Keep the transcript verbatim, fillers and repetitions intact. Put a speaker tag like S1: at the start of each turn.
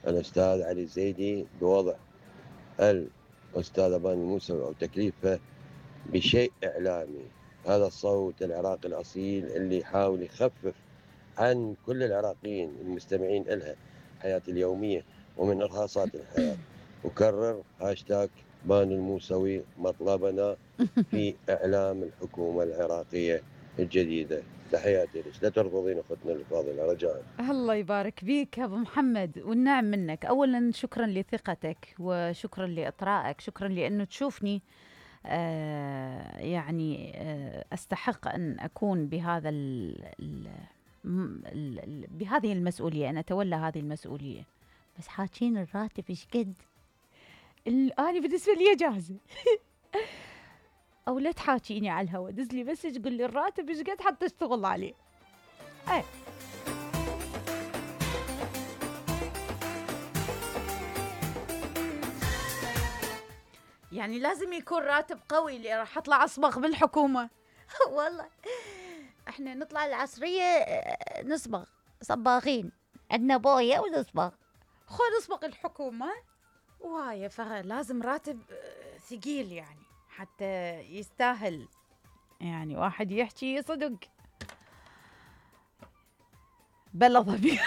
S1: الأستاذ علي الزيدي بوضع الأستاذ باني الموسوي أو تكليفه بشيء إعلامي. هذا الصوت العراقي الأصيل اللي يحاول يخفف عن كل العراقيين المستمعين إلها الحياة اليومية ومن إرهاصات الحياة. وكرر هاشتاج باني الموسوي مطلبنا في إعلام الحكومة العراقية الجديدة. تحياتي لك، لا ترفضين أختنا الفاضلة رجاء.
S2: الله يبارك فيك أبو محمد والنعم منك. أولا شكرا لثقتك وشكرا لإطرائك، شكرا لأنه تشوفني آه يعني آه أستحق أن أكون بهذا ال ال ال بهذه المسؤولية، أن أتولى هذه المسؤولية. بس حاكين الراتب إيش قد؟ أنا بالنسبة لي جاهزة. أو لا تحاكيني على الهوا، دز لي مسج قل لي الراتب إيش قد حتى أشتغل عليه. أي يعني لازم يكون راتب قوي اللي راح أطلع أصبغ بالحكومة. والله احنا نطلع العصرية نصبغ صباغين، عندنا بوية ونصبغ، خو نصبغ الحكومة وهاي، فلازم راتب ثقيل يعني حتى يستاهل يعني واحد يحكي صدق بلا ضمير.